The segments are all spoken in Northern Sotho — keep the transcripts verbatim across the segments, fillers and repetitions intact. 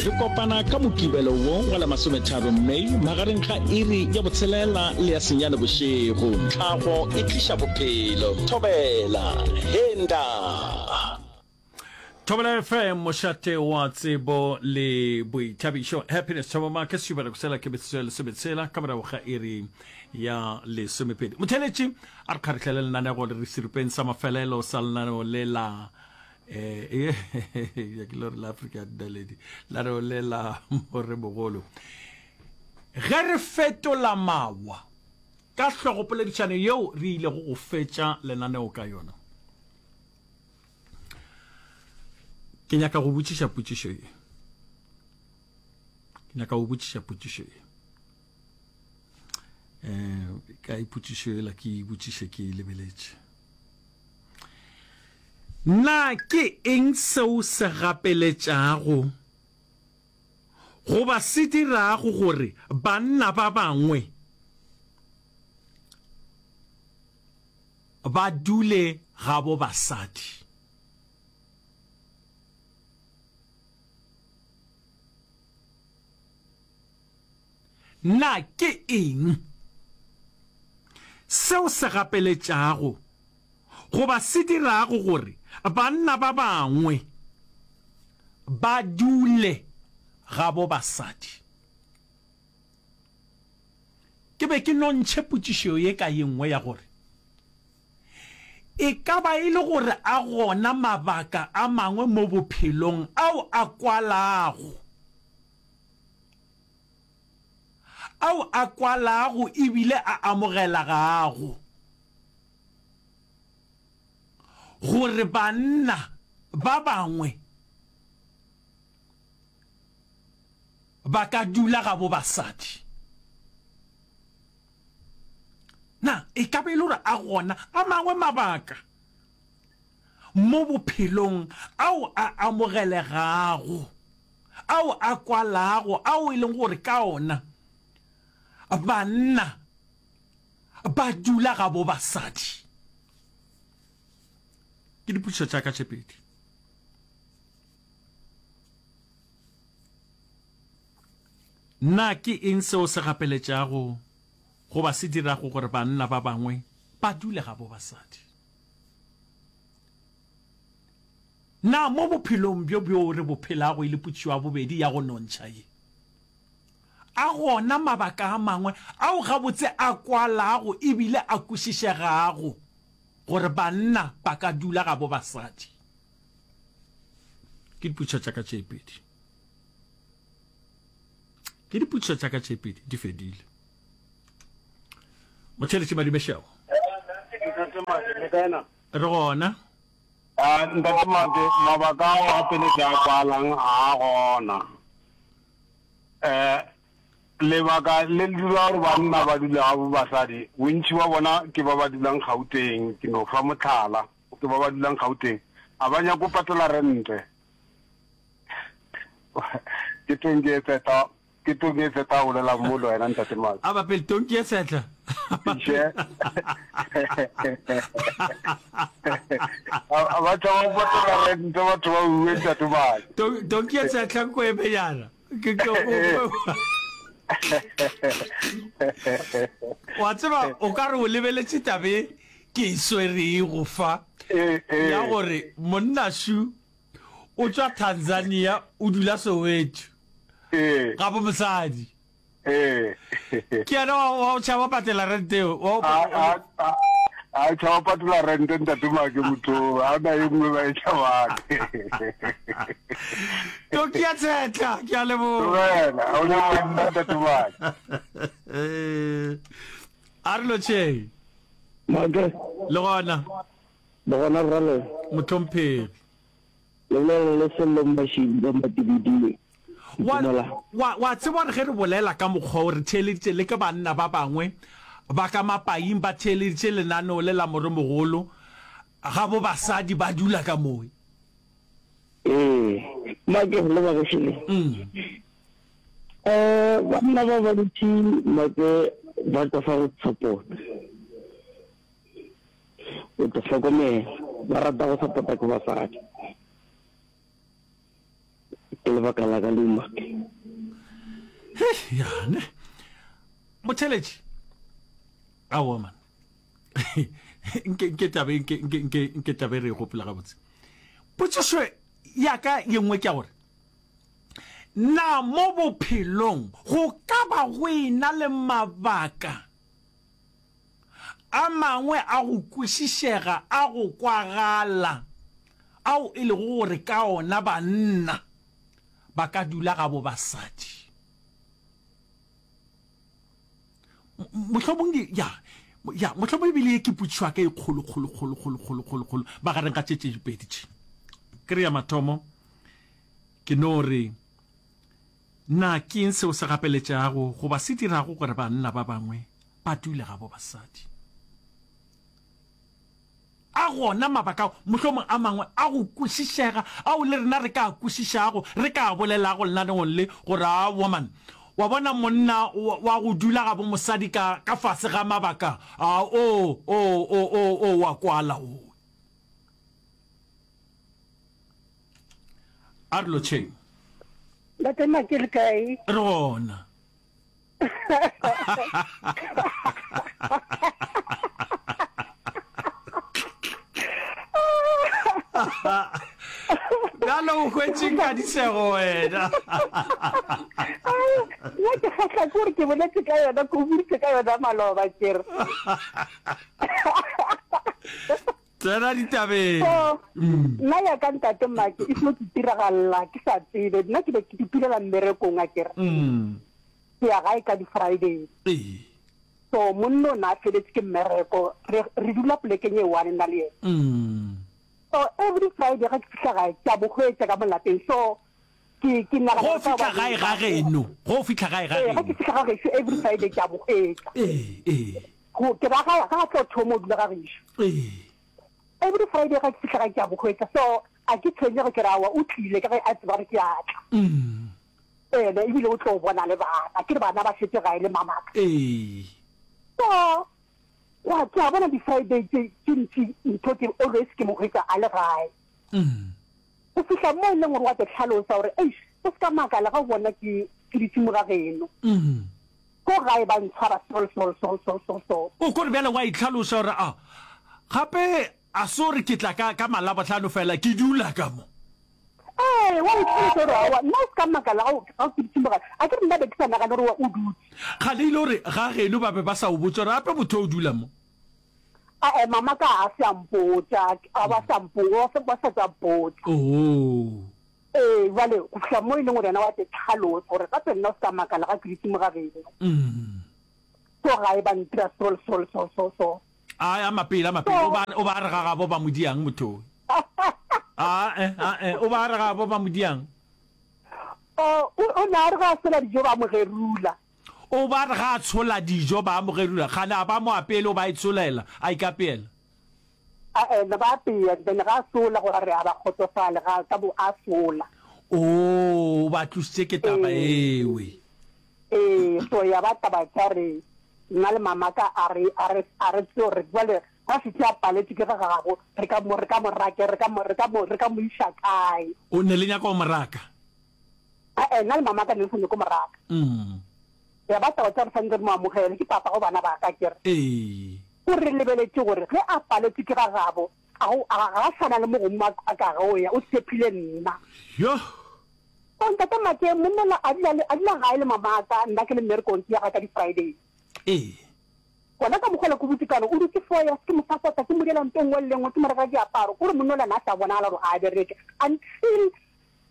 Re kopana ka Mokibelo wo wa la masometharo May magareng ga iri ya botshelela le ya senyane bošego. Tlhago e tliša bophelo. Thobela. Henda. Thobela F M, mošate wa tsebo le boithabišo. Happiness Thabo Make, sešupa sela ke metsotso ya lesometshela ka morago ga iri ya lesomepedi. Motheeletši a re kgarihlele lenanego le re seripeng sa mafelelo sa lenaneo le la eh ya ke lore la Afrika Dinaledi, lenaneo le la Moremogolo. Ge re fetola mawa ka hlogopoledišano yeo re ilego go fetša lenaneo ka yona, ke nyaka go botšiša potšišo ye. Ke nyaka go botšiša potšišo ye. Eh, ka ipotšišo yela ke e botšiše ke e lebeletše. Na ke eng seo se gapeletšago goba se dirago gore banna ba bangwe ba dule gabo basadi? Na ke eng seo se gapeletšago goba se dirago gore banna ba bangwe ba dule gabo basadi? Ke be ke nontšhe potšišo ye ka ye nngwe ya gore, E ka ba e le gore a gona mabaka a mangwe mo bophelong ao a kwalago, ao a kwalago e bile a amogelagago, gore banna ba bangwe ba ka dula gabo basadi? Na e ka ba e le gore a gona a mangwe mabaka mo bophelong ao a amogelegago, ao a kwalago, ao e leng gore ka ona banna ba dula gabo basadi? Ke dipotšišo tša ka tše pedi. Na ke eng seo se gapeletšago goba se dirago gore banna ba bangwe ba dule gabo basadi? Na mo bophelong bjo bjoo re bo phelago e le potšišo ya bobedi ya go nontšha ye, a gona mabaka a mangwe ao gabotse a kwalago e bile a kwešišegago gore banna ba ka dula gabo basadi? Ke dipotšišo tša ka tše pedi. Ke dipotšišo tša ka tše pedi di fedile. Motheeletši Madumešego. Re gona. A Ntate Mate, mabaka ao a pele ke a kwalang ga a gona. Um lebaka le le dira gore banna ba dule ga bo basadi, bontši ba bona ke ba ba dulang Gauteng, ke no fa mohlala, ke ba ba dulang Gauteng, a ba nyake go patela rente. Ke tonki e tsetla, ke tonki e tsetla a bolelang mo le wena Ntate Mate. A ba pele tonki e tsetla. Tše. A ba tšhaba go patela rente batho ba uwe Ntate Mate. Tonki e tsetla nko e benyana. Ke ke Wa tseba o ka re o lebeletše tabe ke e swerego fa ya gore monna shu o tšwa Tanzania o dula Soweto Ee. ga bo mosadi Ee. Ke yena wa wa o tšhaba patela rente eo wa o A a a a tšhaba patela rente ntate Make motho ga ona e nngwe ba e tšhabang. Toki ya tshetla ke a leboga. Tlogela, ga o nyaka nna ntate Make. A re lotšheng. Make. Le gona. Le gona rrale. Mohlomphegi. Le bolela le Sello Mmašidi ka Matibiding. Wa, Ntumela. wa, wa tseba gore ge re bolela ka mokgwa wo, re theeleditše le ke banna ba bangwe ba ka mapaing ba theeleditše lenaneo le la Moremogolo, ga bo basadi ba dula ka mowe. Ee, Make le bagešo. Mm. Eh, banna ba bantši Make ba tšwafa go support. O tlo hlokomela, ba rata go support-a ke basadi. Ke lebaka la ka leo Make. Hei, ya ne. Motheletši. Aowa man. Nke nke tabe nke nke nke nke tabe re e gopola gabotse. Potšišo ya ka ye nngwe ke ya gore na mo bophelong go ka ba go ena le mabaka a mangwe a go kwešišega a go kwagala ao e lego gore ka ona banna ba ka dula gabo basadi? Mohlomong ya, ya, mohlomong ebile ye ke potšišo ya ka e kgolo, kgolo, kgolo, kgolo, kgolo, kgolo, kgolo magareng ga tše tše pedi tše. Ke re ya mathomo, ke no re, na ke eng seo se gapeletšago goba se dirago gore banna ba bangwe ba dule gabo basadi? A gona mabaka ao, mohlomong a mangwe a go kwešišega, ao le rena re ka a kwešišago, re ka a bolelago lenaneong le, gore, Aowa, man, wa bona monna wa, wa go dula gabo mosadi ka, ka fase ga mabaka a, o, o, o, o, o wa kwala o. A re lotšheng. Ntate Maki le kae? Re gona. Bjalo o hwetše nkadisego wena. Nna ke kgahla ke gore ke boletse ka yona, ke o boditse ka yona maloba ke re. Tsena ditabeng. So, nna ya ka ntate Maki e seno ke tiragalla ke sa tsebe. Nna ke be ke itulela mmerekong akere. Ke ya gae ka di Friday. Ee. So monna o na a feletse ke mmereko. Re re dula polekeng e one nna le yena. So every Friday ga ke fihla gae ke a mo hwetša ka mo lapeng. So ke ke nagana Go fihla gae ga geno, go fihla gae ga Ee, ga ke geno. fihla ga gešo every Friday ke a mo hwetša. Ee, ee. Go ke ra ga ga a tlo thoma o dula ga gešo. Ee. Every Friday ga ke fihla gae ke a mo hwetša. So a ke tshwenyege ke re aowa o tlile ka ge a tseba gore ke a tla. Ene ebile o tlo bona le bana. Ke re bana ba šetše gae le mamaka. Ee. So gwa ke a bona di Friday tše tše ntši ntho ke always ke mo hwetša a le gae. Go fihla mo e leng gore wa te hlalosa gore eish o se ka makala ga o bona ke ke dutše mo ga geno. Ko gae ba ntshwara sol sol sol sol sol sol. O ko re bjale wa itlhalosa gore a gape a se gore ke tla ka ka malabohlano fela ke dula ka mo. Ee, wa itlhalosa gore aowa nna o se ka makala ga o ga o ke dutše mo gae. A ke re nna be ke sa nagane gore o dutše. Kgale e le gore ga geno ba be ba sa o botse gore gape motho o dula mo. Ae, mama ka a se a mpotša, a ba sa mpo, ba sa tšwa mpotša. Oo. Ee, bjale go fihla mo e leng gore yena wa te tlhalosa gore gape nna o se ka makala ga ke dutše mo ga geno. Ko gae ba ntira so le so le so so so. Ae, a mapele, a mapele, o ba, o ba re ga gabo ba mo diang motho o. Ae, ae, o ba re ga gabo ba mo diang. O, o, o na re ga a sola dijo ba mo gerula. O ba re ga a tshola dijo ba mo gerula, kgane a ba mo apeele o ba e tsholela, a ikapeela. Ae, ne ba apea, then ga a sola gore a re a ba kgotsofale, ga ka bo a sola. Oo, o ba tlositše ke taba ewe. Ee, so ya ba taba tša re nna le mamaka a re, a re, a re tsebe gore jwale ga šetše a paletšwe ke ga gagabo, re ka mo, re ka mo rake, re ka mo, re ka mo, re ka mo iša kae. O ne le nyaka go mo raka? Ae, nna le mamaka ne re sa nyake go mo raka. Ya ba taba tša re swanetše re mo amogele, ke papa go bana ba ka, ke re. Ee. O re lebeletše gore ge a paletšwe ke ga gabo, ga go, ga, ga a sa na le mo gongwe a, a ka go ya, o tshepile nna. Yoh! So ntate Make, monna la a dula le, a dula gae le mamaka, nna ke le mmerekong, ke ya gae ka di Friday. Ee. Gona ka mokgwa ola ke botse ka gore o dutse four years, ke mo support-a, ke mo diela nto nngwe le nngwe, ke mo rekela diaparo, kore monna ola na sa bonagala gore a bereke until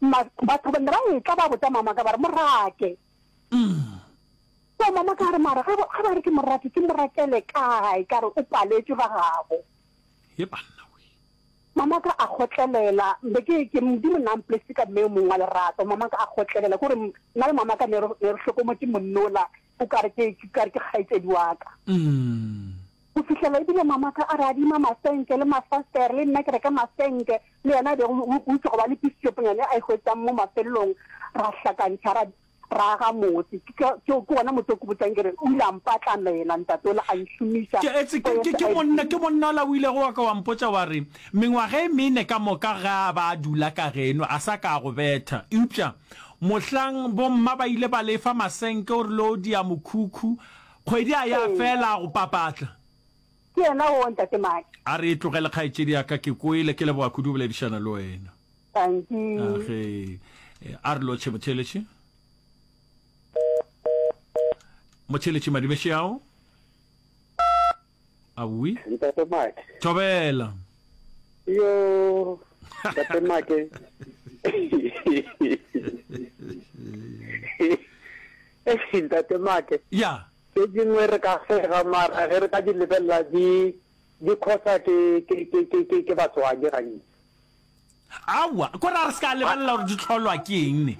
ma, batho ba ne ba etla ba botsa mamaka ba re mo rake. So mamaka a re mara ge ba, ge ba re ke mo rake, ke mo rakele kae, ka re o paletšwe ga gabo. He banna we. Mamaka a kgotlelela, be ke, ke, Modimo nna a mpolesitse ka mme yo mongwe wa lerato. Mamaka a kgotlelela, ke gore nna le mamaka ne re, ne re hlokomotše monna ola, o ka re ke, ke ka re ke kgaetšedi wa ka. Go fihlela ebile mamaka a re adima masenke le mafastere, le nna ke reka masenke, le yena a bego o, o itše go ba le piece shoponyana e a e hwetšang mo mafelelong, ra hlakantšha, ra, Ra aga motse. Ke, ke, ke wona motse o ke botšang ke re, o ile a mpatlamela ntate ola, a nšomiša. Ke, etse, ke, ke, ke monna, ke monna ola o ilego wa ka wa mpotša wa re, Mengwaga e mene ka moka ge a ba a dula ka geno, a sa ka a go betha. Eupša mohlang bomma ba ile ba lefa masenke o rile o dia mokhukhu, kgwedi a ya fela a go papatla. Ke yena woo, Ntate Maki. A re e tlogele, kgaetšedi ya ka, ke kwele. Ke leboga kudu go boledišana le wena. Dankie. Age, a re lotšhe motheeletši. Motheeletši Madibeši ao. Aowi. Ntate Maki. Thobela. Yo, Ntate Maki. Ntate Maki. Ya. Tše dingwe re ka sega mara ge re ka di lebelela di di khosa ke ke ke ke ke ke batswadi gantši. Aowa, ko ra re se ka lebelela gore di hlolwa ke eng ne.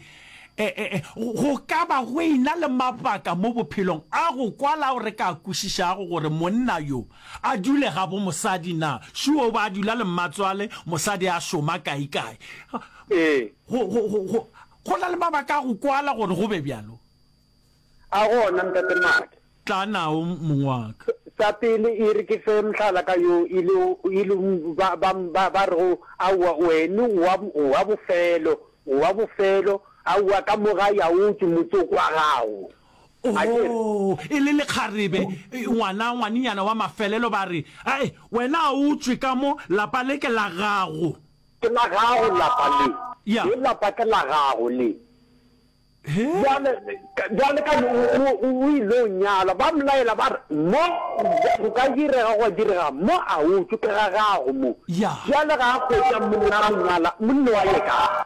E, e, e, go ka ba go e-na le mabaka mo bophelong a go kwala ao re ka kwešišago gore monna yo a dule gabo mosadi na. Sure o ba a dula le mmatswale, mosadi a šoma kae-kae. Ee. Go, go, go, go, go na le mabaka a go kwala gore go be bjalo. A gona, Ntate Make. Tla nao, mong wa ka. Sa pele, e re ke fe mohlala ka yo e le, e le ba, ba, ba, ba rego, Aowa, wene o wa, o wa bofelo, o wa bofelo, aowa, ka mo ga ya o tšwe motsoko wa gago. A ke re? Oo, e le lekgarebe, ngwana, ngwanenyana wa mafelelo, ba re, Ae, wena a o tšwe ka mo, lapa le ke la gago. Ke la gago lapa le. Ya. Le lapa ke la gago le. Bjale, bjale ka o, o, o ile o nyalwa, ba mo laela ba re, Mo go ka direga gwa direga, mo a o tšwe, ke ga gago mo. Ya. Bjale ga a hwetša monna a mo nyala, monna wa ye kae?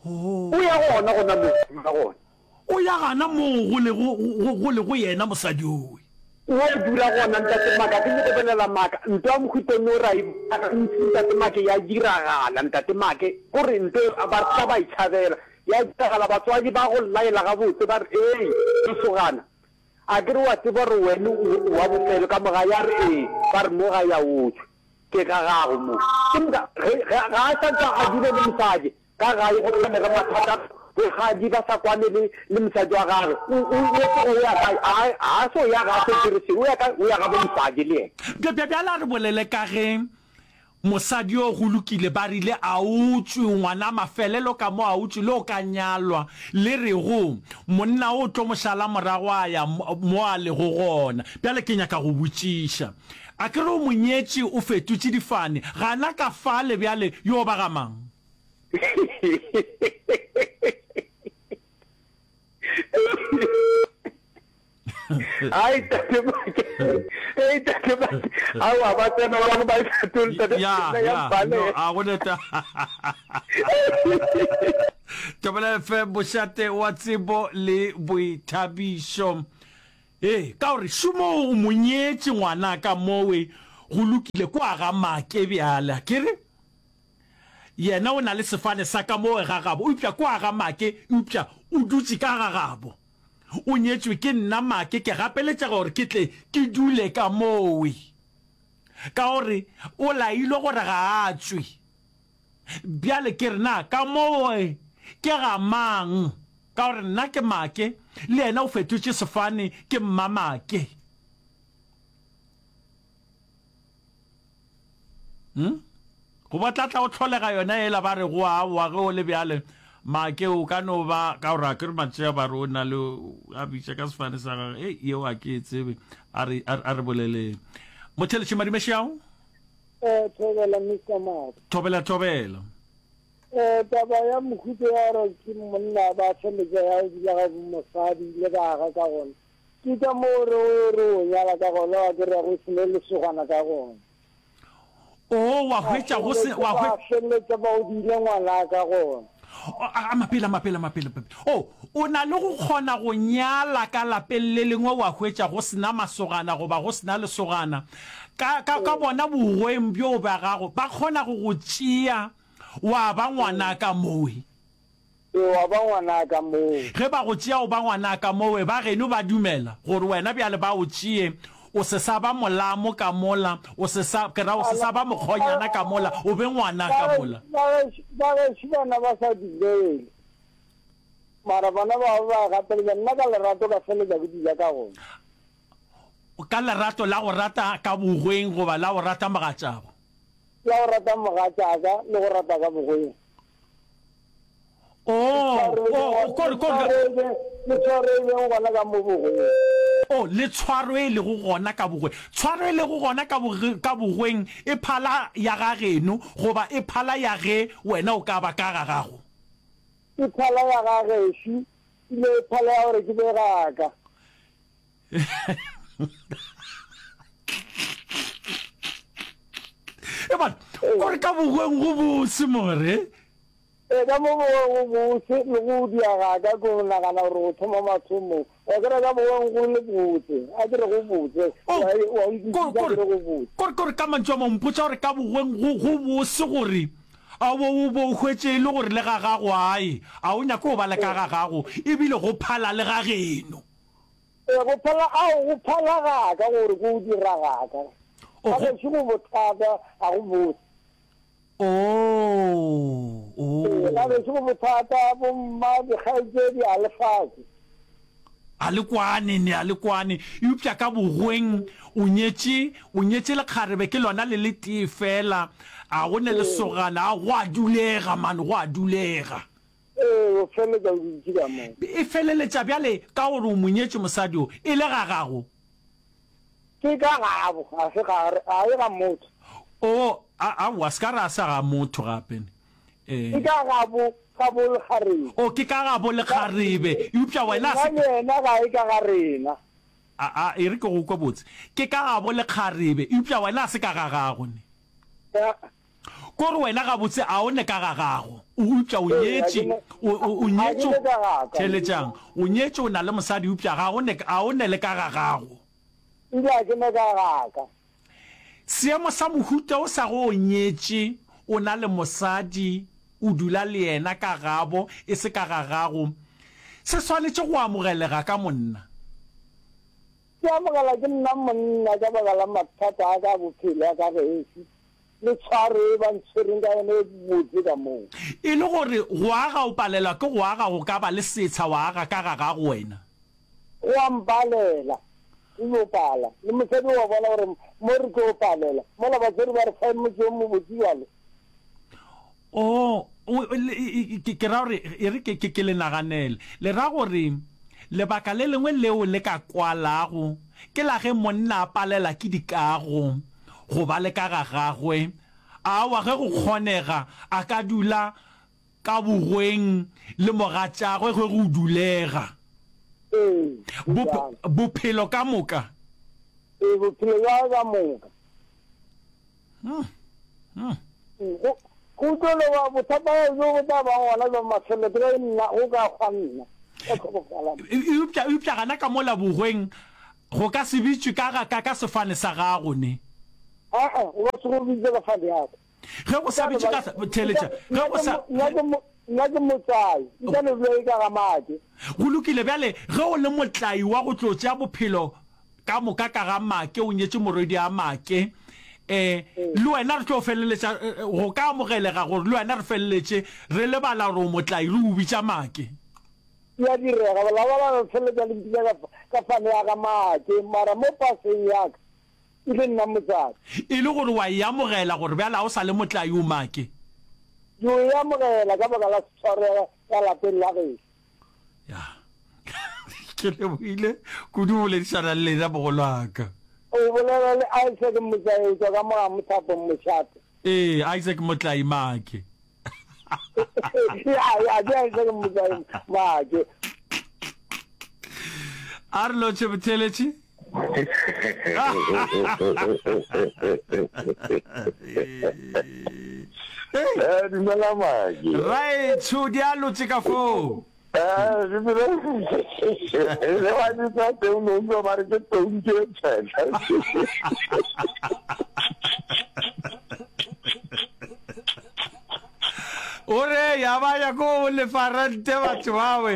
O ya gona gona mo, o ya gona. O ya gana moo go lego, go, go lego yena mosadi owe. O dula gona, Ntate Maka, ke nyoko bolela maaka. Nto ya mohuta no ra e bona gantši, Ntate Make, ya diragala, Ntate Make. Kore nto ba re tla ba e tšhabela. Ya diragala, batswadi ba go laela gabotse, ba re, Ei, lesogana, a ke re wa tseba gore wene o, o wa bofelo ka mo gae? A re, Ee. Ba re, Mo gae a o tšwe. Ke ga gago mo. Ke moka, ge, ge, ga a sa ntse a dule le mosadi, Ka gae go hlomege mathata, bogadi ba sa kwane le le mosadi wa gagwe. O, o, o tloga o ya kae? A, a se o ya ga a se dire selo, o ya kae? O ya gabo mosadi le yena. Bja, bja, bjale a re bolele ka ge mosadi yo go lokile ba rile a o tšwe, ngwana mafelelo ka mo a o tšwe le o ka nyalwa, le rego monna o tlo mo šala morago a ya mo a lego gona. Bjale ke nyaka go botšiša, a ke re o mo nyetše o fetotše difane, gana ka fale bjale yo ba ga mang? Ai tate Make, ei tate Make, aowa ba tsena ba bangwe ba e fetole tate Ya, ya ya, mpale. no, a go neta. Thobela F M, mošate wa tsebo le boithabišo. Ee, ka gore šomo o mo nyetše ngwanaka mowe, go lokile, kwa ga Make bjale, akere? Yena o na le sefane sa ka moo ga gabo, eupša kwa ga Make, eupša o dutše ka ga gabo. O nyetšwe ke nna, Make, ke gapeletšega gore ke tle ke dule ka mowe. Ka gore o lailwe gore ga a tšwe. Bjale ke re, na ka mowe ke ga mang? Ka gore nna ke Make, le yena o fetotše sefane, ke Mmamake. Hmm? Go ba tla tla o tlholega yona ela ba re go aowa ge o le bjale make o ka no ba ka gore a ke re matšea ba re o na le a bitša ka sefane sa gage e yeo a ke e tsebe a re a re boleleng motheletši madimešao Eh, thobela Mister Mark. Thobela thobela. Eh, taba ya mohuta ya gore ke monna ba feletša ya go dula ga mosadi le ba aga ka gona. Ke ka moo re o re o nyala ka gona wa kry-a go se ne lesogana ka gona. Oo, wa hwetša go se, wa hwe-. Ba feleletša ba o diile ngwana ka gona. A, a mapele, a mapele, a mapele, mapele. O, o na le go kgona go nyala ka lapeng le lengwe wa hwetša go se na masogana goba go se na lesogana. Ka, ka, ka bona bogweng bjoo bja gago, ba kgona go go tšea wa ba ngwana ka mowe. Ee, wa ba ngwanaka moo. Ge ba go tšea o ba ngwanaka mowe, ba geno ba dumela gore wena bjale ba o tšee, o se sa ba molamo ka mola, o se sa, ke ra o se sa ba mokgonyana ka mola, o be ngwana ka mola. Ba gešo, ba gešo bana ba sa dumele. Mara bona ba ba gapeletša nna ka lerato ka feletša ke dula ka gona. Ka lerato la go rata ka bogweng goba la go rata mogatšago? La go rata mogatšaka le go rata ka bogweng. Oh, oh, kore, kore. Le tshwaro e lego gona ka mo bogweng. Oh, le tshwaro e lego gona ka bogweng. Tshwaro e lego gona ka boge, ka bogweng e phala ya ga geno goba e phala ya ge wena o ka ba ka ga gago? E phala ya ga gešu, ebile e phala ya gore ke be ga ka. Eban, kore ka bogweng go bose more. Ee, ka mo bogweng go bose le go dia ga ka ke go nagana gore go thoma mathomong. Wa kry-a ka bogweng go le botse, a ke re go botse, Oh, wa wa kore nkwešiša ke kore re go botse. kore kore ka mantšu a mangwe mpotša gore ka bogweng go go bose gore a bo o bo o hwetše e le gore le ga gago ae a o nyake go ba le ka ga gago ebile go phala le ga geno. Ee, go phala, ao, go phala ga ka gore ke o dira ga ka. O Ga go gešo go bothata, ga go bose. Oh, Ee, ga oh. gešo go bothata, bomma, dikgaetšedi, a le fase. A le kwane, ne a le kwane. Eupša ka bogweng o nyetše, o nyetše lekgarebe ke lona le le tee feela, a go ne Ee. lesogana, a go a dulega man, go a dulega. Ee, o feleletša o dutše ka moo. E feleletša bjale ka gore o mo nyetše mosadi o, e le ga gago. Ke ka gabo, ga se ga, ga e ga motho. O, a, aowa, se ka ra sa ga motho gape. Ke E. ka gabo, gabo lekgarebe. O, ke ka gabo lekgarebe, eupša wena a Nna se. le yena ga e ka ga rena. A, a, e re ke go kwe botse. Ke ka gabo lekgarebe, eupša wena a se ka ga gago, ne. Ya. Ko re wena gabotse a o ne ka ga gago, o, eupša o Ee, ga ke nyetše, ne, o, o, o ga ke nyetše, ne ka ga ka. theeletšang, o nyetše, o na le mosadi, eupša ga o ne, a o ne le ka ga gago. Ebile ga ke ne ka ga ka. Seemo sa mohuta o sa go o nyetše, o na le mosadi, o dula le yena ka gabo, e se ka ga gago, se swanetše go amogelega ka monna. Ke amogela ke nna monna ka baka la mathata a ka a bophelo a ka gešo, le tshwaro e ba ntshwereng ka yona e botse ka moo. E le gore go aga o palelwa ke go aga go ka ba le setsha wa aga ka ga gago wena. Go a mpalela, o yo pala. Le mosadi o a bona gore mo re tlo palela, mola batswadi ba re fa motse o mobotse bjalo. Oh, o, le, e, ke, ke ra gore, e re ke, ke, ke le naganele. Le ra gore lebaka le lengwe leo le ka kwalago ke la ge monna a palela ke dikago go ba le ka ga gagwe. Aowa, ge go kgonega, a ka dula ka bogweng le mogatšagwe ge go dulega. Ee, go Bop, bjalo. bophelo ka moka. Ee, bophelo bja gagwe ka moka. Hmm. Hmm. Go, go tlo no ba bothata bjo bo tla bang gona bja mafelelo ke ge nna, go ka hwa nna, ka tlhokofala. Eupša, eupša gana ka mola bogweng go ka se bitšwe ka ga, ka, ka sefane sa gago, ne? Aa, go ka se go bitše ka fane ya ka. Ge go sa bitšwe ka, theeletša, ge go sa. Nna ke, nna ke motlai, nka no dula e ka ga make. Go lokile, bjale, ge o le motlai wa go tlo tšea bophelo ka moka ka ga make, o nyetše morwedi a make, eh, le wena re tlo feleletša, go ka amogelega gore le wena re feleletše re lebala gore o motlai, re o bitša make. E a direga, la ba la feleletša le mpitša ka, ka fane ya ga make, mara mo paseng ya ka, e le nna motswadi. E le gore wa e amogela gore bjale ga o sa le motlai o make? Ke o e amogela ka baka la tshwaro ya, ya lapeng la gešo. Ya. Ke lebohile kudu go boledišana le lena mogolwaka. O bolela le Isaac Motlai o tšwa ka mo ga Mothapo Mošate. Ee, Isaac Motlai Make. Ya, ya, ke Isaac Motlai Make. A re lotšhe botheeletši. Eh, dumela Make. Raetsho, di a lotše ka foo. Eh, le wa bitsa teng no utlwa ba re ke tong ke tshela. O re ya ba ya ko lefa rente batho bawe.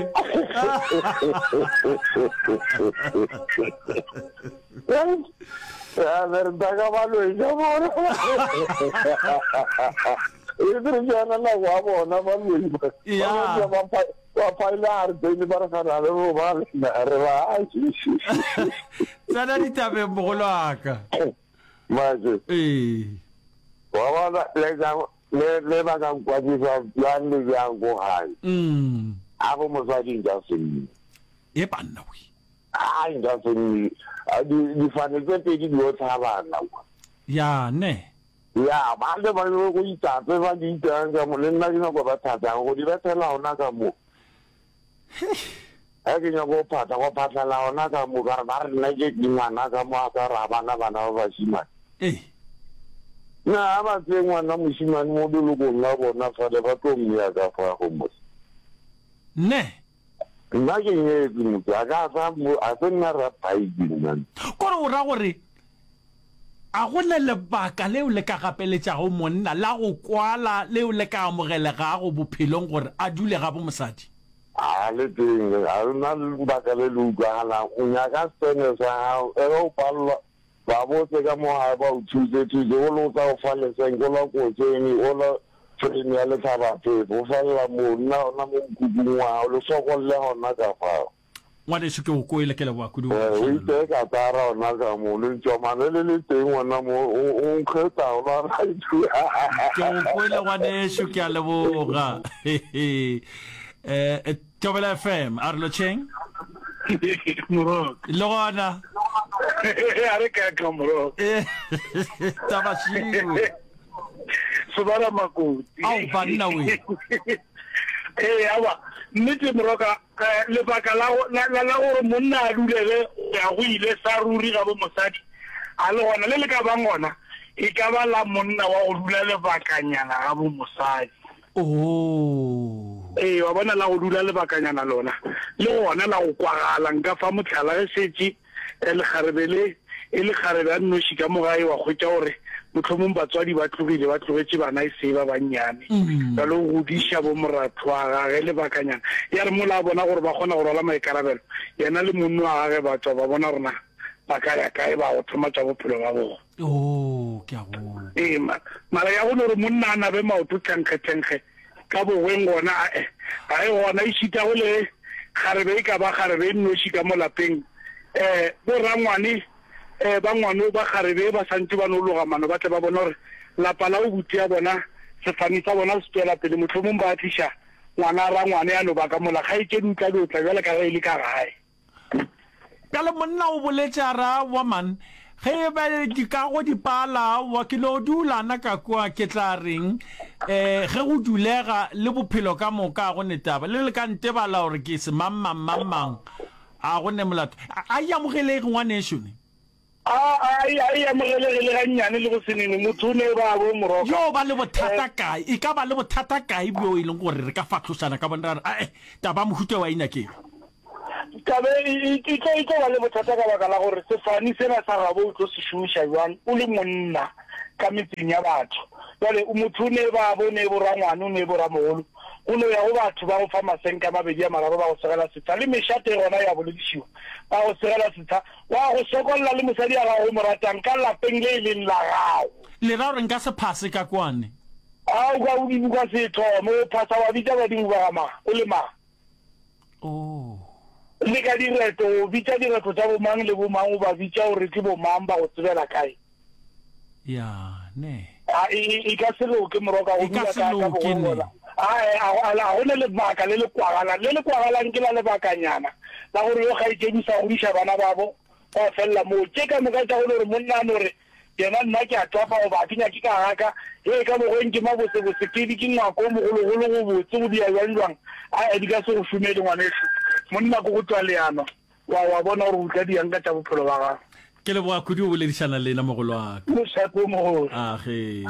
Ya re ka ba loisa bona. E re ke yona nako ya bona ba loi ba. Ya. Ba Wa phaile a re tsene ba re gana le bo ba lena re ba Tsena ditabeng mogolo wa ka. Maje. Ee. Wa bona le ka le le ba ka nkwatisa bjang le bjang ko gae. Mm. A go mosadi nka se nne. E banna we. A nka se nne. Di difane tse pedi di o tlhabana kwa. Ya ne. Ya ba le ba le go itsa tse ba di itsang ka mo le nna ke nyako ba thatang go di bethela ona ka mo. Ge ke nyako go phatla go phatlhela ona ka mo ka re ba re nna ke ngwana ka mo a ka ra bana bana ba bashimane. Ee. Na ba tseye ngwana moshimane mo lelokong la bona fale ba tlo mmea ka fa go mose. Ne. Nna ke nyetse motho a ka sa a se nna ra bike nna. Kore o ra gore a go na lebaka leo le ka gapeletšago monna la go kwala leo le ka amogelegago bophelong gore a dule ga bo mosadi? A le teng, a na lebaka le le utlwagalang. O nyaka sene sa gago, e o palelwa ba botse ka mo gae ba o thuse thuse o le o tla o fa lesenke o la kotseng o la frame ya letlhabaphefo o felela mo nna ona mo mokhukhung wa gago le sokolle gona ka fao. Ngwaneso ke o kwele ke leboga kudu. O iteye ka tara ona ka mo le ntšomane le le teng ona mo o nkgetsa o la right. Ke o kwele ngwaneso ke a leboga. Eh Thobela F M a re lotšheng. Morok. Le gona. A re ka ka morok. Taba šiwe. Sobara makoti. Ao banna we. Eh awa nnete moroka lebaka la la la gore monna a dulele ya go ile sa ruri ga bo mosadi a le gona le le ka bang gona e ka ba la monna wa go dula lebakanyana ga bo mosadi. Oh. Eh wa bona la go dula lebakanyana lona le gona la go kwagala nka fa motlhala ge setse le kgarebele e le kgarebe a nnoši ka mo gae wa kgwetša gore mohlomong batswadi ba tlogile ba tlogetše bana e se ba bannyane ba lo godiša bo moratho wa gage lebakanyana ya re mola a bona gore ba kgona go rwala maikarabelo yena le monno wa gage ba tswa ba bona rona ba ka ya kae ba go thoma tša bophelo ba bona. Oh, ke a go. Ee, mara ya go no re monna a nabe maoto tlenkge-tlenkge ka bogweng gona ae ga e gona e šita go le kgarebe e ka ba kgarebe e nnoši ka mo lapeng um bo rangwane um ba ngwano ba kgarebe ba santse ba no loga mano ba tle ba bona gore lapa la go buti ya bona sefane sa bona se tswela pele mohlomong ba tliša ngwana rangwane ya no ba ka mola kgaetšedi o tla be o tla bjale ka ge e le ka gae. Bjale monna o boletše a re aowa man ge e ba dikago di pala aowa ke no dula na ka kua ke tla reng um ge go dulega le bophelo ka moka a go ne taba le le ka ntebala gore ke se mang mang mang mang a go ne molato a e amogelege ngwanešo ne. A a e amogelege le gannyane le go se nene motho o ne ba bo moroka. Yo ba le bothata kae e ka ba le bothata kae bjo e leng gore re ka fahlošana ka bona ra re ae taba mohuta wa e nyakego. Tabe e tlo e tlo ba le bothata ka baka la gore sefane sena sa gabo o tlo se šomiša jwang o le monna ka metseng ya batho. Jwale motho o ne ba bo ne bo rangwane o ne bo ramogolo go no ya go batho ba go fa masenka a mabedi a mararo ba go segela setsha le mešate gona ya boledišiwa ba go segela setsha wa go sokolla le mosadi ya gago mo ratang ka lapeng le e leng la gago. Le ra gore nka se phase ka kwane? A o ka o dibuka se thome o phasa wa bitša badimo ba ga mang o le mang? Oh. Le ka direto o bitša direto tša bomang le bomang o ba bitša gore ke bomang ba go tsebela kae? Ya ne. A e e ka se loke moroka go E ka dula se ka ka loke bogweng ne. gona. A a a go ne lebaka le le kwagalang le le kwagalang ke la lebakanyana la gore yo kgaetšedi sa godiša bana babo ba fella moo tše ka moka tša go le gore monna a no re yena nna ke a tswafa goba ke nyake ka gaka ye ka bogweng ke mabosebose ke di ke ngwako o mogologolo go botse go dia jwang jwang a di ka se go šomele ngwaneso monna ko go tswa leano wa wa bona gore o tla diang ka tša bophelo ba gago. Ke leboga kudu o boledišana le nna mogolo wa ka. Mošate o mogolo. Age.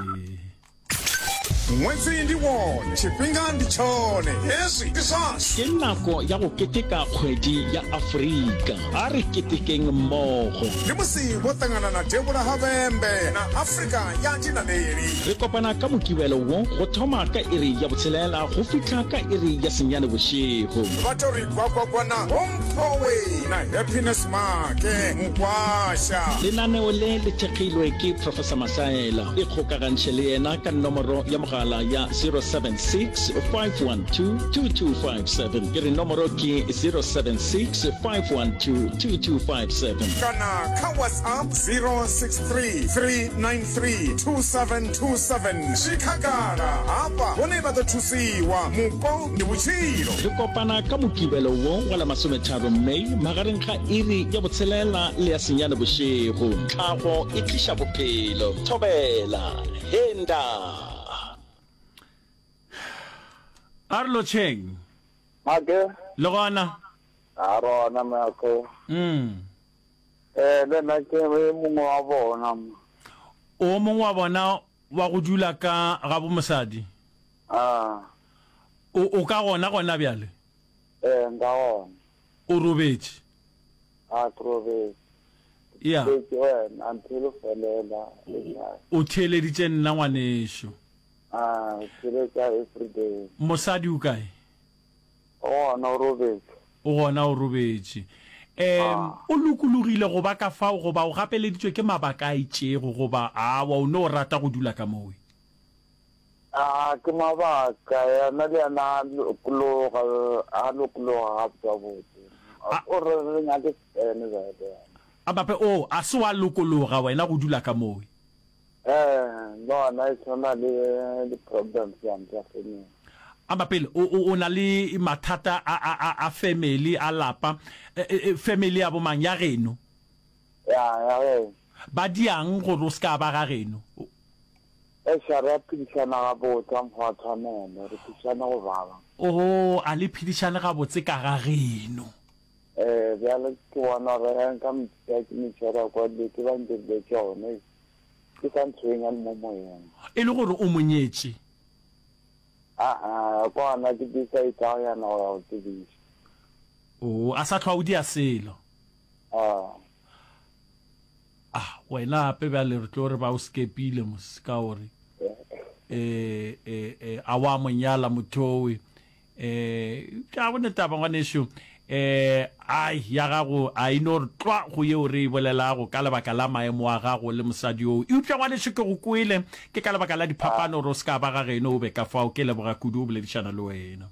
Ṅwedzi ndi wone, tshifhinga ndi tshone, hezwi ndi zwashu. Ke nako ya go keteka kgwedi ya Afrika. A re ketekeng mmogo. Ndi musi vho ṱangana na Devhula ha Vhembe na Afrika ya Dinaleli. Re kopana ka Mokibelo wo go thoma ka iri ya botshelela go fihla ka iri ya senyane bošego. Vha tou ri gwagwagwa na Homphowe na Happiness Make Mukwasha. Lenaneo le le thekgilwe ke Professor Masaela. Ikgokagantšhe le yena ka nomoro ya mogala mogala ya zero seven six five one two two two five seven. Ke re nomoro ke zero seven six five one two two two five seven. Kana kha WhatsApp zero six three three nine three two seven two seven. Zwi khagala hafha hone vha ḓo thusiwa. Mupo ndi vhutshilo. Re kopana ka Mokibelo wo wa la masometharo May magareng ga iri ya botshelela le ya senyane bošego. Tlhago e tliša bophelo. Thobela. Henda. A re lotšheng. Make. Le gona? A rona Make. Mm. Eh, le nna ke e mongwe wa bona. O mongwe wa bona wa go dula ka ga bo mosadi? Ah. O, o ka gona gona bjale? Eh, nka gona. O robetše? A, ke robetše. Ya. Ke wena, until o felela. O theeleditše nna ngwanešo. Ah, o theeletša everyday. Mosadi o kae? O gona o robetše. O gona o robetše. Um, o lokologile go ba ka fao goba o gapeleditšwe ke mabaka a itšego goba awa o no rata go dula ka mowe? A ke mabaka, yena le yena a lokologa, a lokologa gabotse-botse. O re re nyake sene bjale yena. A bape, o, a se wa lokologa wena go dula ka mowe? Eh, le gona e tshwana le di-problems tsane tsa family. A bapele, o, o, o na le mathata a, a, a, a family, a lapa. E, e, family ya bomang? Ya geno? Ya, ya geno. Ba diang gore o se ka ba ga geno? Eish, a re a phedišana gabotse, a mokgwa wa tshwanelo, re phedišane go baba. Oh, a le phedišane gabotse ka ga geno? Eh, bjale ke bona gore ge nka mo tšea ke mo tšhera kwa dilo tše ba ntirile tšona, ke sa ntshwenya le mo moyeng. E le gore o mo nyetše? Aa, kwa gona ke decide go yana go ya go tsebiša. Oh, a sa hlwa o dia selo? Aa. Ah, wena gape bjale re tlo re ba o skepile mos, ka gore eh, eh, eh, a wa mo nyala motho owe. Eh, ga go ne taba ngwanešu. Eh, ai, ya gago a e no re tlwa go yeo re e bolelago ka lebaka la maemo a gago le mosadi oo. Eupša ngwanešu ke go kwele, ke ka lebaka la diphapano gore o se ka ba ga geno o be ka fao. Ke leboga kudu go boledišana le wena.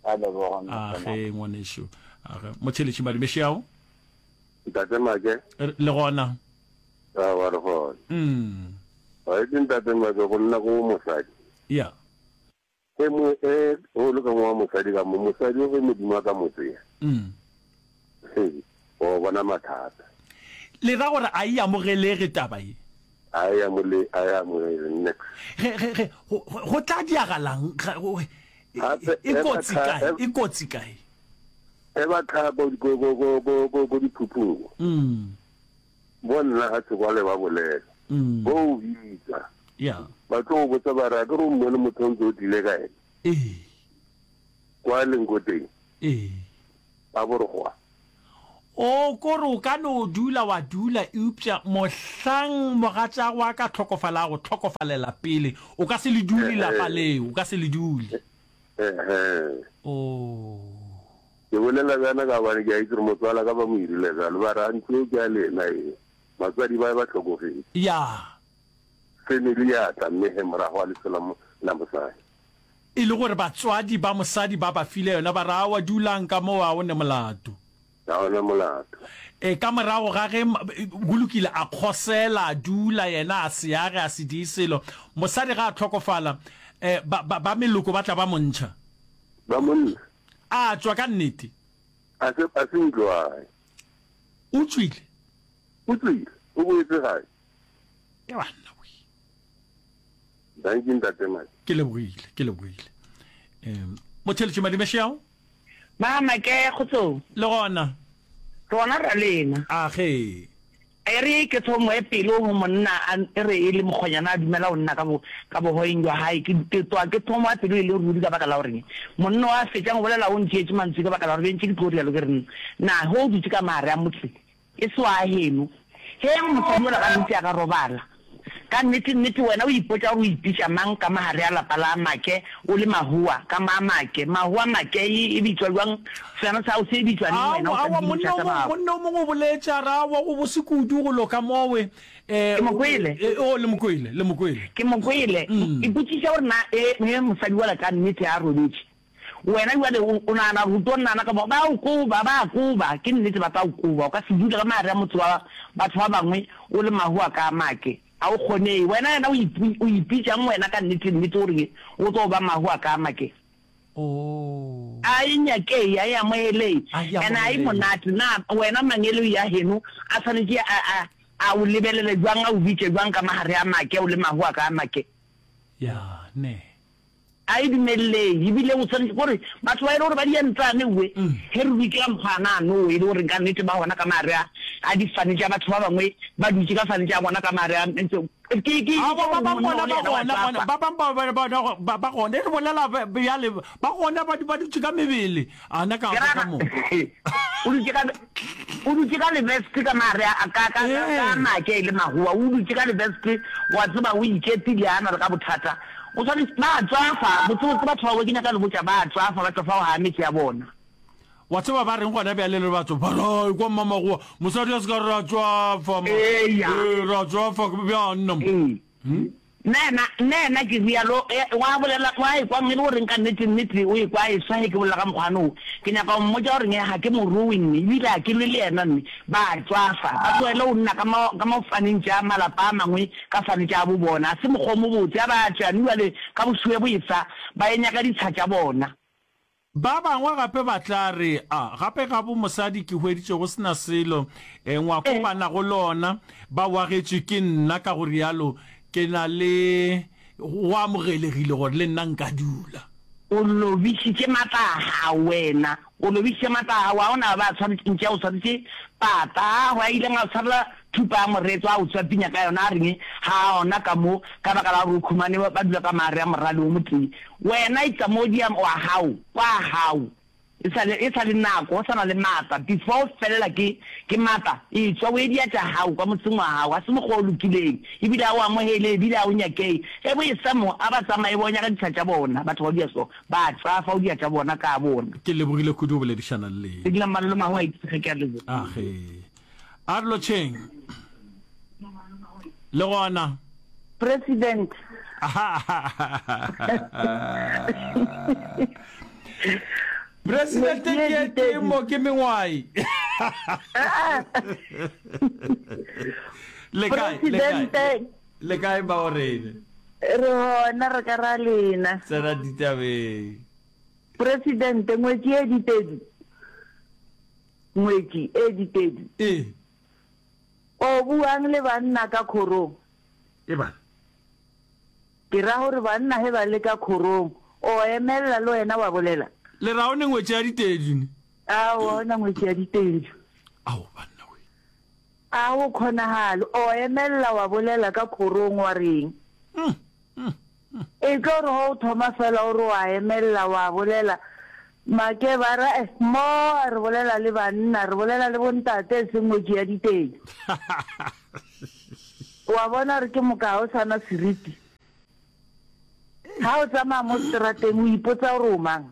A leboga, Ntate A ge ngwanešu. A ge. Motheeletši Madumešeao. Ntate Make. Le gona. Aowa re gona. Mm. Wa itse Ntate Make go nna go mosadi. Ya. Ge mo e o le ka mo wa mosadi ka mo mosadi o ge Modimo a ka mo tseya. Mm. He, o bona mathata. Le ra gore a e amogelege taba ye? A e amole, a e amogele nix. Ge, ge, ge, go, go tla diagalang? Ga, go, e, Gape, e e ba kotsi tha, kae? e, E kotsi kae? e ba tha ko, ko, ko, ko, ko, ko, ko diphuphung. Mm. Bo nna ga se kwale ba bolela. Mm. Bo o bitsa. Ya. Ba tlo go botsa ba re, a ke re o mmone motho o ntse o tlile ka ena. Ee. Kwa leng ko teng. Ee. Ba bo re gwa. O ko re o ka no dula wa dula, eupša mohlang mogatšago a ka hlokofala, a go hlokofalela pele, o ka se le dule lapa leo, o ka se le dule. Ehe. Oh. Ke bolela bjana ka gobane ke a itse gore motswala ka ba mo irile bjalo, ba re, a ntlo eo ke ya lena e, batswadi ba ba hlokofetše. Ya. Family ya tla mme he morago ga leso la mo, la mosadi. E le gore batswadi ba mosadi ba ba file yona, ba re, Aowa, dulang ka moo, ga o ne molato. Ga o ne molato. E, ka morago ga ge, go lokile, a kgosela, a dula, yena a se age, a se die selo. Mosadi ga a hlokofala, e, ba, ba, ba meloko ba tla ba mo ntšha. Ba mo ntsha. A tšwa ka nnete. A se, a se ntlo gae. O tšwile. O tšwile, o boetse gae. Ke banna we. Dankie Ntate Mike. Ke lebogile, ke lebogile. Um, Motheletši Madimešeao. Mama ke kgotsong. Le gona. Re gona ra lena. A ge. E re ke thomo e pele ho monna a e re e le mokgonyana a dumela ho nna ka bo ka bohoeng jwa hae ke ke twa ke thomo a pelo e le ruri ka baka la gore monna o a fetšang go bolela o ntšeetše mantswe ka baka la gore be ntše ke tlo rialo ke re na ge o dutše ka maare a motse e se wa heno. Ge mosadi yola gantši a ka robala, Ka nnete nnete wena o ipotša gore o ipitša mang ka magare a lapa la Make o le Mahoa ka ma Make? Mahoa Make e e bitšwa bjang? Sena sa gago se bitšwa neng wena o Aowa, sa aowa, tsebe monna tša o tsa mongwe, bago? monna o mongwe o boletše a re, Aowa, go bose kudu go loka mowe. Eh, Ke mo kwele. eh, oh, le mo kwele, le mo kwele. Ke mo kwele. Ipotšiša gore na e, ge mosadi wola ka nnete a robetše, wena bjale o, o nagana gore o tlo nana ka mo? Ba o koba, ba a koba, ke nnete ba tla o koba. O ka se dule ka magare a motse wa batho ba bangwe o le mahu a ka make. A o kgonei. Wena yena o ipi, o ipitšang wena ka nnete, nnete gore o tlo ba mahu a ka make? Oh. A e nyakei, a e amogelei, A e and a e amogelei. monate. Na wena mangeloi a geno a swanetše a, a, a o lebelele bjang, a o bitše bjang ka magare a make, o le mahu a ka a make? Ya, ne. A e dumelelei, ebile o swanetše gore batho ba e le gore ba di entsane we, ge re dutše ka mokgwa ana ano, e le gore ka nnete ba gona ka magare a, a difane tša batho ba bangwe, ba dutše ka fane tša bona ka magare a, ke, ke, ke Aowa, gore ba bang monna bona o le ba yena wa gona, gona, tšwafa. ba bang ba, ba, ba, ba, ba gona, e re bolela bjale, ba gona ba, ba dutše ka mebele, ana ka Ke fa ra ka mo. O dutše ka, o dutše ka leveste ka magare a, ka, ka, ka, ka Ee. make e le magowa, o dutše ka leveste, wa tseba, o iketile, a na le ka bothata. O swanetše, ba a tšwafa, botsebotse batho ba, ke nyaka le botša, ba a tšwafa, ba tšwafa go gaa metse ya bona. Wa tseba ba reng gona bjale le batho ba re, Ekwa mmamagowa, mosadi a se ka re ra tšwafa ma. Eya. Ee, ra tšwafa bjang nna mo. Ee. Nna yena, nna yena ke rialo, e, wa bolela, wa ekwa e le goreng ka nnete, nnete o ekwa a eswa ge ke bolela ka mokgwa wo. Ke nyaka go mmotša gore nge ga ke mo rowe nne, ebile ga ke lwe le yena nne. Ba a tšwafa, ba tlogele go nna ka mo, ka mo faneng tša malapa a mangwe ka fane tša bo bona. A se mokgwa o mobotse. A ba tšwe anu bjale ka bošuwe bo esa, ba ye nyaka ditsha tša bona. Ba bangwe gape ba tla re, A gape ga bo mosadi ke hweditše go se na selo, e, ngwako ba nago le ona ba o agetšwe ke nna, ka go rialo ke na le, go amogelegile gore le nna nka dula. O lobišitše matla a gago, wena. O lobišitše matla a gago. A o na ba tshwaretše, ntše a o swaretše pata. A go a ileng a o tshwarela thupa ya moretlwa, a o tswapinya ka yona, a reng, Ga a ona ka mo, ka baka la gore o khumane, ba dula ka maare a morale wo motee. Wena etsa mo dia wa gago, kwa gago. E sa le, e sa le nako, o sa na le maatla. Before o felela ke, ke maatla, etšwa o ye dia tša gago kwa motseng wa gago. Ga se mokgwa o lokileng, ebile ga o amogele, ebile ga o nyakei. Ge bo esa mo, a ba tsamaye ba o nyaka ditsha tša bona. Batho ba dia so, ba tšwafa o dia tša bona ka bona. Ke lebogile kudu go boledišana le lena. Ke dula Mmalolo Mahu a itse ge ke a leboga. Age. A re lotšheng. Le gona. President. President ke ke mo ke mengwai. Le kae? Le kae? Le kae ba orene? Re hona re ka ra lena. Tsena ditabeng. President ngwetši e ditedi. Ngwetši e ditedi. Ee. O buang le banna ka khorong? E bana. Ke ra gore banna ge ba le ka khorong, o emelela le wena wa bolela? Le ra o ne ngwetši ya ditedu ne? Aowa, o na ngwetši ya ditedu. Ao banna we. A go kgonagale, o emelela wa bolela ka khorong wa reng? Mm, mm, mm. E tlo re ge o thoma fela o re wa emelela wa bolela, Make ba re, Eh, mo re bolela le banna, re bolela le bontate, e seng ngwetši ya ditedu. Wa bona gore ke moka ga o sa na seriti. Ga o tsamaya mo seterateng o ipotsa gore o mang.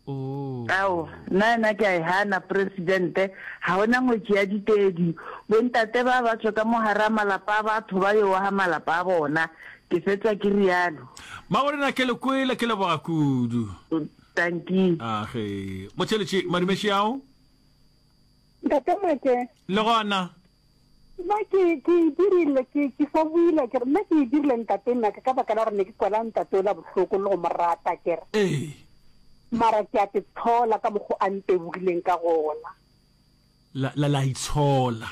Ao, nna yena ke a e gana, Presidente. Ga o na ngwetši ya ditedu. Bontate ba ba tšwe ka mo gare a malapa a batho ba yo aga malapa a bona. Ke fetša ke realo. Mmaborena ke le kwele, ke leboga kudu. Dankie. Age. Motheeletši, madumeši ao. Ntate Make. Le gona. Nna ke ke e dirile ke ke sa buile ke re nna ke e dirile ntate Make ka baka la gore ne ke kwela ntate ola bohloko le go mo rata ke re. Ee. Mara ke a te tshola ka mokgo a ntebogileng ka gona. La la la itshola.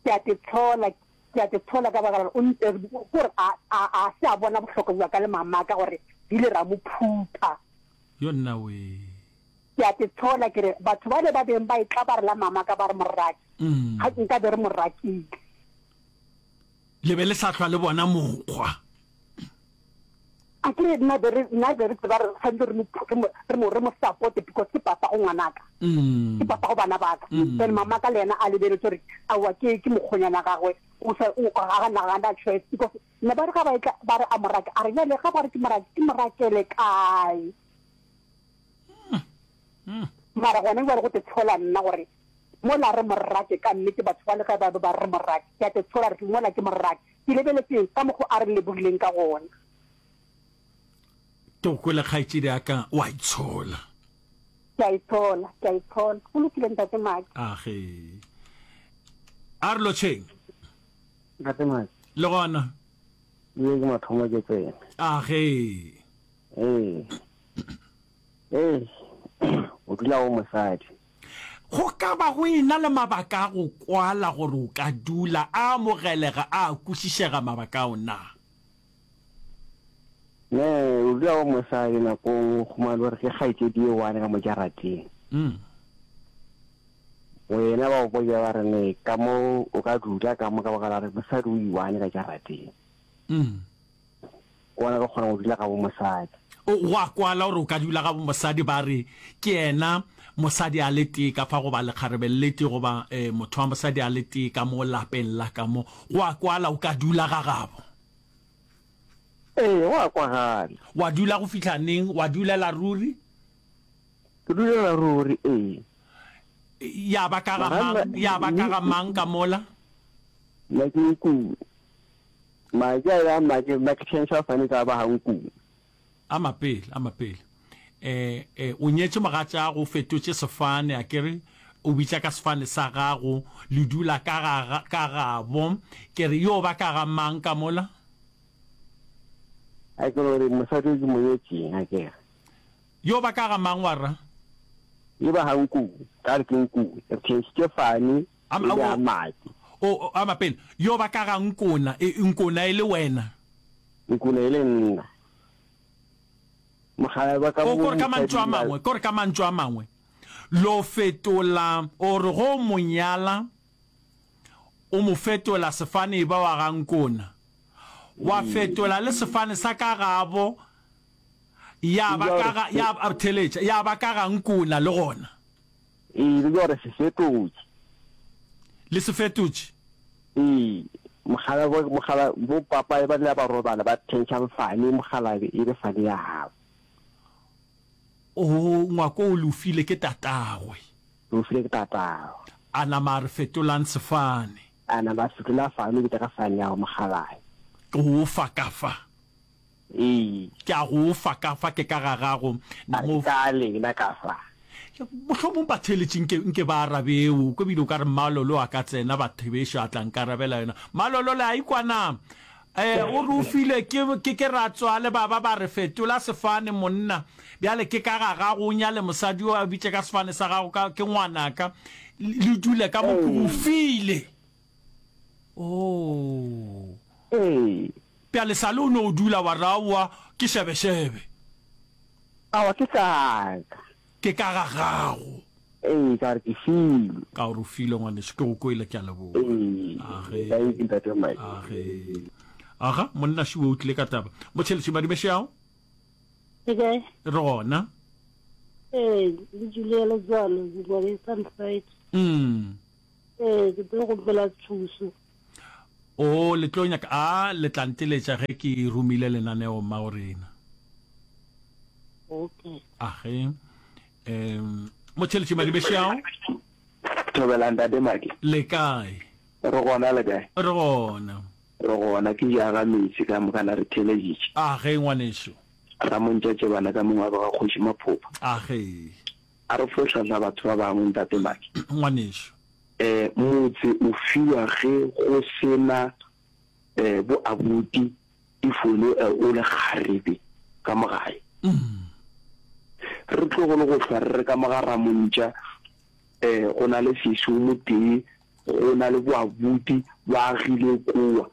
Ke a te tshola Ke a te tshola ka baka la gore o nte, gore a, a, a se a bona bohlokwa bja ka le mamaka gore re ile ra mo phutha. Yo nna wee. Ke a te tshola ke re, batho bale ba beng ba etla ba re la mamaka ba re moraki, ga nka be re mo rakile. Le be le sa hlwa le bona mokgwa. A ke re nna be re, nna be re tseba re swanetše re mo, re mo, re mo, re mo supporte because ke papa go ngwanaka, ke papa go bana ba ka. Then mamaka le yena a lebeletše gore aowa ke, ke mokgonyana gagwe, O sa o ga na ga na choice because ne ba re ga ba etla ba re a mo rake a re bjale ga ba re ke mo rake ke mo rakele kae. Mara gona bjale go te tshola nna gore mola re mo rake ka nnete batho ba le ge ba be ba re mo rake ke a te tshola re mola ke mo rake ke lebeletše ka mokgo a re lebogileng ka gona. Ke go kwele kgaetšedi ya ka wa itshola. Ke a itshola, ke a itshola. Go lokile ntate Maki. Age. A re lotšheng. Ntate Maki. Le gona. Ye ke mathomo ke tsena. Age. Ee. Ee. O dula o mosadi. Go ka ba go ena le mabaka a go kwala gore o ka dula, a amogelega, a kwešišega mabaka ao na? Ne, o dula o mosadi nako nngwe o humane gore ke kgaetšedi ye one ka mo jarateng. Wena ba go botša ba re ne ka mo o ka dula ka mo ka baka la gore mosadi o i-one ka jarateng. Ke gona re kgona go dula ga bo mosadi. O, go a kwala gore o ka dula ga bo mosadi ba re ke yena mosadi a le tee ka fa goba lekgarebe le tee goba eh, motho wa mosadi a le tee ka mo lapeng la ka mo. Go a kwala o ka dula ga gabo. Ee, go a kwagala. Wa dula go fihla neng? Wa dulela ruri? Ke dulela ruri, ee. Ya ba ka ga mang? Ya ba ka ga mang ka mola? Nna ke Nkubu. Madi a ya make, nna ke tšhentšha fane ka ba ga Nkubu. A mapele, a mapele. Eh, eh, o nyetše mogatšago, o fetotše sefane, a ke re, o bitša ka sefane sa gago, le dula ka ga, ka gabo. Ke re, yo ba ka ga mang ka mola? A ke no re mosadi o ke mo nyetšeng, a ke re. Yo ba ka ga mang wa ra? Yo ba ga Nkubu, ka re ke Nkubu. Re tšhentšhitše fane, e le a madi. O, ama pele. Yo ba ka ga Nkona, e, Nkona e le wena. Nkona e le nna. Mogala ba ka O, mo kore ka mantšu a mosading ba. mangwe, kore ka mantšu a mangwe, lo fetola, o re go mo nyala, o mo fetola sefane e ba wa ga Nkona. Wa fetola le sefane sa ka gabo, ya ba ka ga, ya, theletša, ya ba ka ga Nkona le gona. Ee, le gore se fetotše. Le se fetotše? Ee, mogala bo, mogala bo papa ba ile ba robala ba tšhentšha fane, mogala e be fane ya gabo. Oo, ngwako o le o file ke tatagwe. Le o file ke tatagwe. A nama a re fetolang sefane. A nama a fetola fane, o bitša ka fane ya gago mogalabe. Ke go fa ka fa. Ee. Ke a go fa ka fa, ke ka ga gago. A re, Ka lena ka fa. Mohlomong batheeletši nke, nke ba arabeo, ko bile o ka re Mmalolo a ka tsena bathebešo a tla nkarabela yona. Mmalolo le a ikwa na? Eh, o re o filwe ke, ke, ke ratswale ba ba ba re fetola sefane monna. Bjale ke ka ga gago o nyale mosadi yo a bitše ka sefane sa gago ka, ke ngwanaka. Le dule ka mo ke go file. Oh. Ee. Bjale sale o no dula wa re aowa ke šebešebe. Aowa ke ka ka. Ke ka ga gago. Ee, ka gore ke filwe. Ka gore o filwe ngwaneso, ke go kwele, ke a leboga. Ee, Age. thank you Ntate Mike. Age. Aga, monna šiwe o tlile ka taba. Motšheletši Madumešeao. Le kae? Re gona. Ee, le Julia Letswalo, ke kwa ke Sunside. Mm. Ee, ke tlo kgopela thuso. O, le tlo nyaka, a le tla nteletša ge ke romile lenaneo mmago rena. Okay. Age. Um, Motšheletši Madibešeao. Thobela Ntate Maki. Le kae? Re gona le kae? Re gona. Re gona ke ja ga metsi ka moka na re theeleditše. Age ngwanešu. Ramontšatše bana ka mongwe wa ba ga Kgoši Maphopha. Age. A re fo hlahla batho ba bangwe Ntate Maki. Ngwanešu. Eh, motse o fiwa ge go se na eh, bo abuti if o le eh, o le kgarebe ka mo gae. Re tlogole go hlwa re re ka mo ga Ramontša eh, go na le sesi o motee, go na le bo abuti ba agile kowa.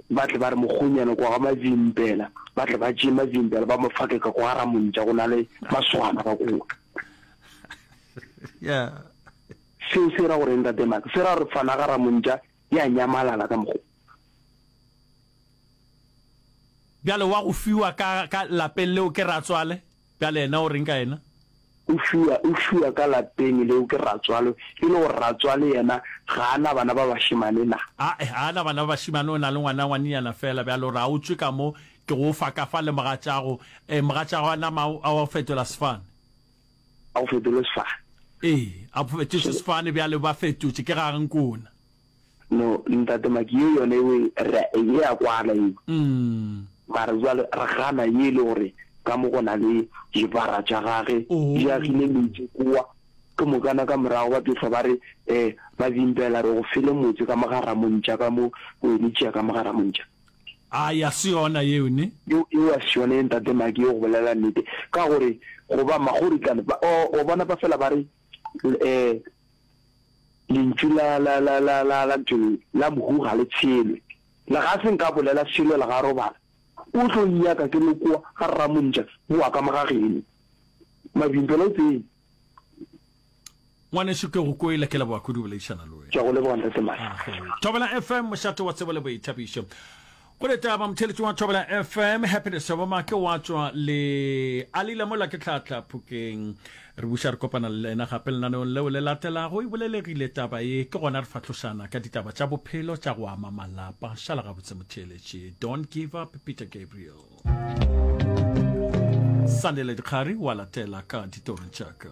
Ba tle ba re mokgonyana kwa ga Mavimpela, ba tle ba tšee Mavimpela ba mo fake ka kwa ga Ramontša, go na le masogana ka kowa. Yeah. Seo se ra gore eng, Tate Maka? Se ra gore fana ga Ramontša ya nyamalala ka mokgo. Bjale wa go fiwa ka, ka lapeng leo ke ratswale, bjale yena o reng ka yena? o fiwa, o fiwa ka lapeng leo ke ratswalo, e le gore ratswale yena ga a na bana ba bašemane na? Ae, ga a na bana ba bašemane, o na le ngwana ngwanenyana feela. Bjale o re a o tšwe ka mo, ke go fa ka fa le mogatšago. E, mogatšago a nama a o fetola sefane. A go fetole sefane. Ee, a fetotše sefane, bjale ba fetotše, ke ga Nkona. No, Ntate Maki, ye yona ewe re a, e a kwala ewe. Mara jwale re gana ye e le gore ka mo go na le dibara tša gage, di agile metse kowa, ke mokana ka morago ba tlo hlwa ba re, eh, ba bimpela re go fele motse ka mo ga Ramontša ka mo, o ene tšea ka mo ga Ramontša. Ai, a se yona yeo, ne? Yeo, yeo a se yona ye, Ntate Maki, ye go bolela nnete. Ka gore, goba Makgoritlane, ba, o, o bona ba fela ba re, eh, Lentšu la, la, la, la, la, la ntho ye, la mohu ga le tshelwe. Le ga se nka bolela selo le ga robala. O tlo nnyaka ke le koa ga Rramontša, boa ka mo ga geno. Mabimpela o tsene. Ngwanešu ke go kwele, ke leboga kudu boledišana le wena. Ke a go leboga Ntate Madi. Thobela F M, mošate wa tsebo le boithabišo. Go ditaba, motheeletši wa Thobela F M, Happiness Thabomake wa tšwa le Alila mola ke tlhatla Phokeng. Re buša re kopana le yena gape lenaneong leo le latelago. E bolelegile taba ye, ke gona re fahlošana ka ditaba tša bophelo tša go ama malapa. Šala gabotse motheeletši. Don't give up, Peter Gabriel. Sandile Dikgari wa latela ka ditorong tša ka.